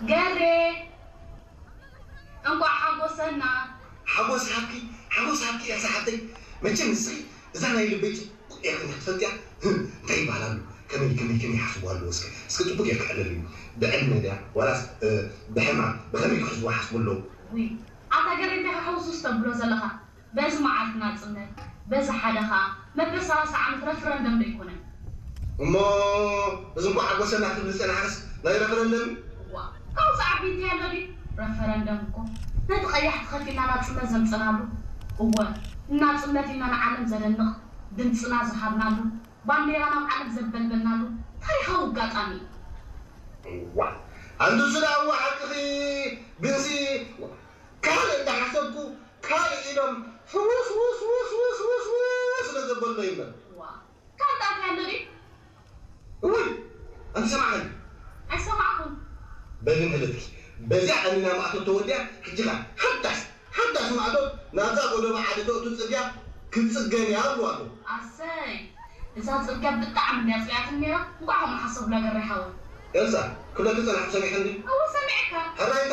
ገሬ፣ እንቋዕ ሓጎሰና። ሓጎስ ሃብኪ፣ ሓጎስ ሃብኪ እያ ሰሓብተይ። መቸም ንስኺ እዛ ናይ ልበይ ጽቡቕ እያ ከም ትፈልጥያ። ህም፣ እንታይ ይበሃል ኣሎ? ከመይ፣ ከመይ፣ ከመይ ይሓስቡ ኣለዉ እስከ? እስከ ጽቡቕ እየ ክሕለል እዩ። ብዕድመ ድያ? ዋላስ፣ እ፣ ብሕማም? ብኸመይ ክሕዝዋ ሓስቡ ኣለዉ? ውይ፣ ኣታ ገሬ እንታይ ክሕውሱስ ተብሎ ዘለኻ? በዚ መዓልቲ ናጽነት፣ በዚ ሓደ ኸኣ መበል ሰላሳ ዓመት ረፍረንደም ዶ ኣይኮነን? እሞ እዚ እንኳ ሓጎሰና ክትብል ዝጸናሕክስ ናይ ረፈረንደም? እዋ፣ ካብዚ ዓቢ እንታይ ኣሎ ድዩ? ረፈረንደም እኮ ነቲ ቀያሕቲ ከፊልና ናጽነት ዘምጸናሉ፣ እወ፣ ንናጽነት ኢልና ንዓለም ዘደንቕ ድምጽና ዝሃብናሉ፣ ባንዴራ ናብ ዓለም ዘበልበልናሉ ታሪኻዊ ኣጋጣሚ እዩ። እዋ፣ ኣንቱስ ደኣ እዋ ሓቅኺ፣ ግንሲ ካልእ እንዳሓሰብኩ ካልእ ኢሎም ሕውስ ውስ ውስ ውስ ውስ ውስ ስለ ዘበሎ ይምበር። ዋ፣ ካልእ ኣትያ ኣሎ ድዩ? እውይ፣ ኣንቲ ሰማዕኒ። ኣይሰማዕኩን። በሊ እንተለትኪ፣ በዚኣ ቀኒና ማእቶት ተወዲኣ፣ ሕጂ ኸኣ ሓዳስ፣ ሓዳስ ማእቶት ናብዛ ጎደቦ ዓዲ ተእቱ ጽርግያ ክትጽገን እያ ይብሉ ኣለዉ። ኣሰይ፣ እዛ ጽርግያ ብጣዕሚ እንድያ ጽልያትኒ ነይራ። እንቋዕ ከምኡ ሓሰብላ ገሬ ሓወይ። ኤልሳ፣ ክብለኪ ጸናሕኩ ሰሚዐ እንዲ። እወ፣ ሰሚዐካ። ሕራይ እንታይ